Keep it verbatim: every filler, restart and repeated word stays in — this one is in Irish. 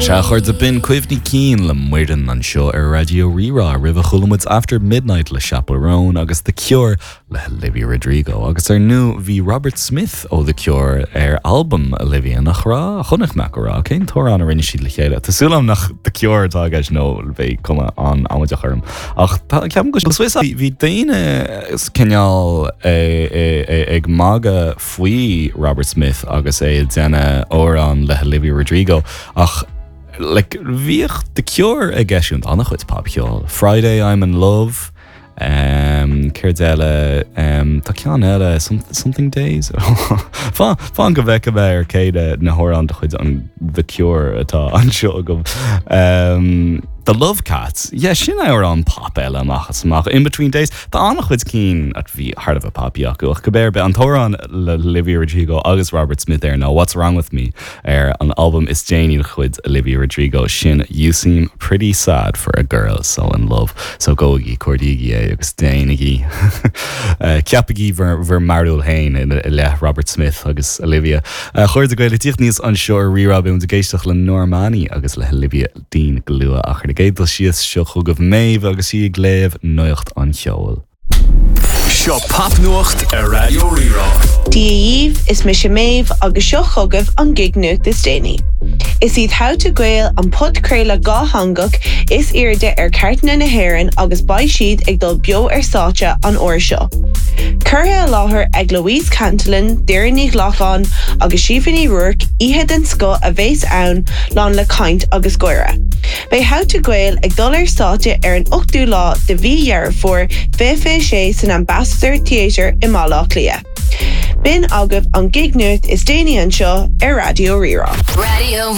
Sea, a chairde, b'in Cuimhní Cinn le Muireann anseo ar Raidió Rí-Rá. Roimhe chuala muid After Midnight le Chappell Roan agus The Cure le Olivia Rodrigo. Agus ar ndóigh bhí Robert Smith ó The Cure ar albam Olivia nach raibh chonaic mé go raibh cén t-amhrán a rinne siad le chéile. Tá súil agam nach The Cure atá aige nó bheadh cuma an-amaideach orm. Ach ceapaim go Swiss bhí daoine cineál ag magadh faoi Robert Smith agus é ag déanamh amhrán le Olivia Rodrigo ach like, bhíodh The Cure ag eisiúint an-chuid popcheol. Friday I'm in Love, um, céard eile um, Tá ceann eile something days Fan go bhfeice mé ar céide na hamhráin de chuid an The Cure atá anseo agam. Um, The Love Cats, yeah, sin amhrán pop eile amach is amach in between days Tá an-chuid cinn a bhí thar a bheith poppy acu ach cibé ar bith an t-amhrán le Olivia Rodrigo agus Robert Smith air ná What's Wrong with Me ar an album is déanaí de chuid Olivia Rodrigo sin You seem pretty sad for a girl so in love so gabhaigí cuardaígí é agus déanaigí ceapaigí bhur mbarúil féin i leith Robert Smith agus Olivia. A chairde Gael ag tíocht aníos anseo ar Rí-Rá beidh ag éisteacht le Normani agus le Olivia Dean go luath ach ar na gcéad dul síos seo chugaibh Méabh agus í ag léamh nuacht an cheoil. Seo popnuacht ar Raidió Rí-Rá. Dia dhaoibh is mise Méabh agus seo chugaibh an gig-nuacht is déanaí. Is iad How to Gael an podchraoladh dátheangach is airde ar chairteanna na hÉireann agus beidh siad ag dul beo ar stáitse an uair seo. Curtha i láthair ag Louise Cantillon, Doireann Ní Ghlacáin agus Síomha Ní Ruairc oíche den scoth a bheas ann lán le caint agus gáire. Beidh How to Gael ag dul ar stáitse ar an ochtú lá de mhí Dheireadh Fómhair fiche fiche sé san Ambassador Theatre i mBaile Átha Cliath. B'in agaibh an gig-nuacht is déanaí anseo ar Raidió Rí-Rá. Radio